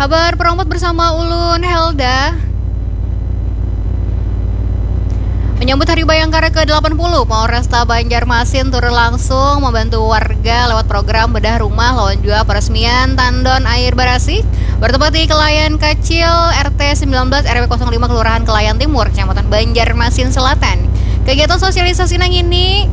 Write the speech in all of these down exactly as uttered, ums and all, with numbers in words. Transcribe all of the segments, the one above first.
Habar perompat bersama ulun Helda. Menyambut Hari Bayangkara ke delapan puluh, Polresta Banjarmasin turun langsung membantu warga lewat program bedah rumah lawan jua peresmian tandon air barasih bertempat di Kelayan Kecil R T sembilan belas R W kosong lima Kelurahan Kelayan Timur, Kecamatan Banjarmasin Selatan. Kegiatan sosialisasi nang ini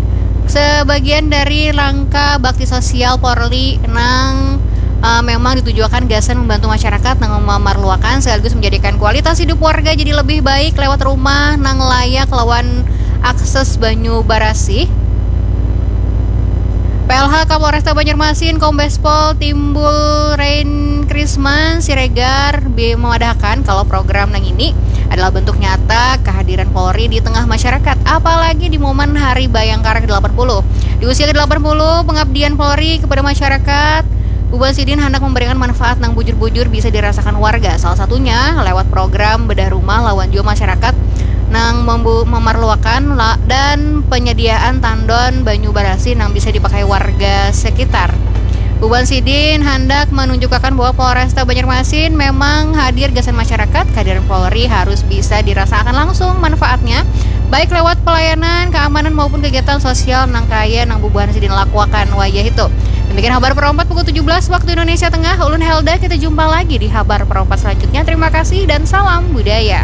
sebagian dari langkah bakti sosial Polri nang uh, memang ditujuakan gasan membantu masyarakat nang memerluakan sekaligus menjadikan kualitas hidup warga jadi lebih baik lewat rumah nang layak lawan akses banyu barasih. P L H Kapolresta Banjarmasin Kombes Pol Timbul Rain Krisman Siregar memadahakan kalau program nang ini adalah bentuk nyata kehadiran Polri di tengah masyarakat, apalagi di momen Hari Bayangkara ke delapan puluh. Di usia ke delapan puluh, pengabdian Polri kepada masyarakat, Bubuhan sidin handak memberikan manfaat nang bujur-bujur bisa dirasakan warga, salah satunya lewat program bedah rumah lawan jua masyarakat nang memerluakan dan penyediaan tandon banyu barasih nang bisa dipakai warga sekitar. Bubuhan sidin handak menunjukkan bahwa Polresta Banjarmasin memang hadir gasan masyarakat, kehadiran Polri harus bisa dirasakan langsung manfaatnya, baik lewat pelayanan, keamanan maupun kegiatan sosial nang kaya nang bubuhan sidin lakuakan wayah itu. Demikian habar perompat pukul tujuh belas waktu Indonesia Tengah. Ulun Helda, kita jumpa lagi di habar perompat selanjutnya. Terima kasih dan salam budaya.